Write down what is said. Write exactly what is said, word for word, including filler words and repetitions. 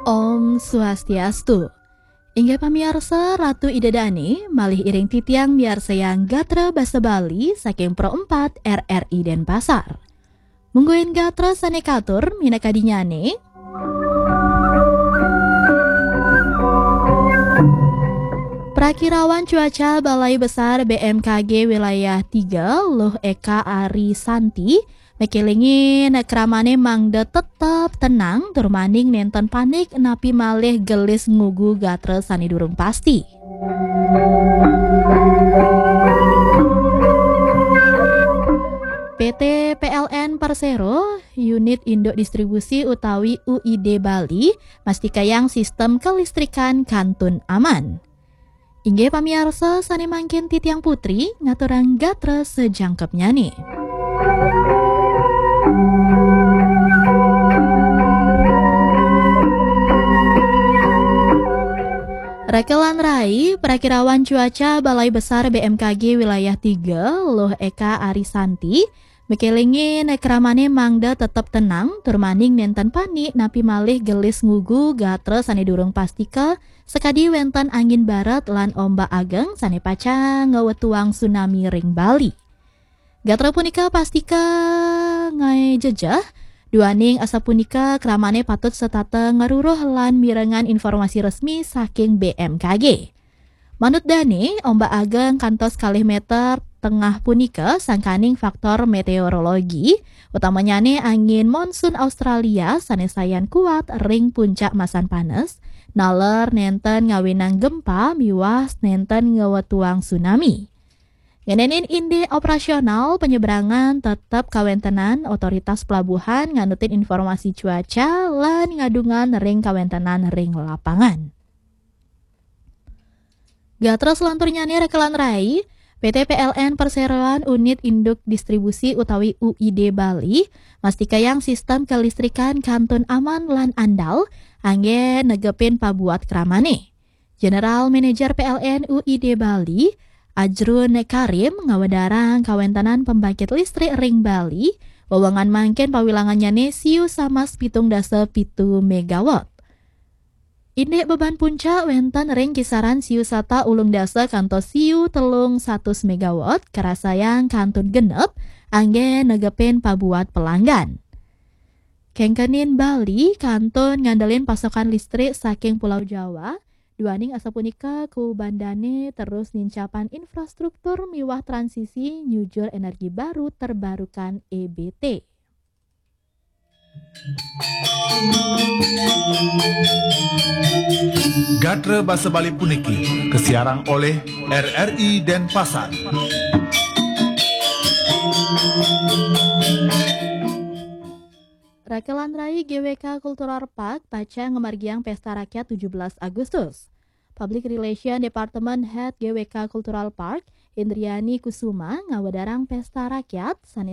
Om Swastiastu. Inggih pamiarsa, Ratu Ida Dane malih iring titiang miarsayang gatra basa Bali saking Pro empat R R I Denpasar. Mungguing gatra sane katur minakadinyane. Prakirawan cuaca Balai Besar B M K G Wilayah tiga, Luh Eka Ari Santi, mekelingin kramane mangda tetep tenang, tur maning nenten panik, napi malih gelis ngugu gatra sane durung pasti. P T P L N Persero, Unit Induk Distribusi utawi U I D Bali, mastikayang sistem kelistrikan kantun aman. Inggih pamiarsa, sane mangkin titiang Putri ngaturang gatra sajangkepnyane. Rekelan rai, Prakirawan Cuaca Balai Besar B M K G Wilayah tiga, Luh Eka Arisanti, mekelingin kramane mangda tetep tenang, tur maning nenten panik, napi malih gelis ngugu gatra sane durung pastika, sakadi wenten angin barat lan ombak ageng sane pacang ngwetuang tsunami ring Bali. Gatra punika pastika ngae jejeh, duaning asapunika kramane patut setata ngaruruh lan mirengang informasi resmi saking B M K G. Manut dane, ombak ageng kantos kalih meter tengah punika sangkaning faktor meteorologi, utamanyane angin monsun Australia sane sayan kuat ring puncak masan panes, naler nenten ngawinang gempa miwah nenten ngwetuang tsunami. Ngenenin indik operasional penyeberangan tetep kawentenan otoritas pelabuhan nganutin informasi cuaca lan ngadungan ring kawentenan ring lapangan. Gatra selanturnyane rekelan rai, P T P L N Perseroan Unit Induk Distribusi utawi U I D Bali, mastikayang sistem kelistrikan kantun aman lan andal, anggen negepin pabuat kramane. General Manager P L N U I D Bali, Ajrun Karim, ngawedarang kawentenan pembangkit listrik ring Bali, wewengan mangkin pawilangannyane siu samas pitung dasa pitu megawatt. Indik beban puncak wenten ring kisaran siu sata ulung dasa kantos siu telung satus megawatt, karasayang kantun genep, anggen negepin pabuat pelanggan. Kengkenin Bali kantun ngandelin pasokan listrik saking Pulau Jawa, duaning asapunika kubandane terus nincapan infrastruktur miwah transisi nyujur energi baru terbarukan E B T. Gatra basa Bali puniki kasiarang olih R R I Denpasar. Rekelan rai G W K Cultural Park pacang ngamargiang Pesta Rakyat tujuh belas Agustus. Public Relation Department Head G W K Cultural Park, Indriani Kusuma, ngawedarang Pesta Rakyat sane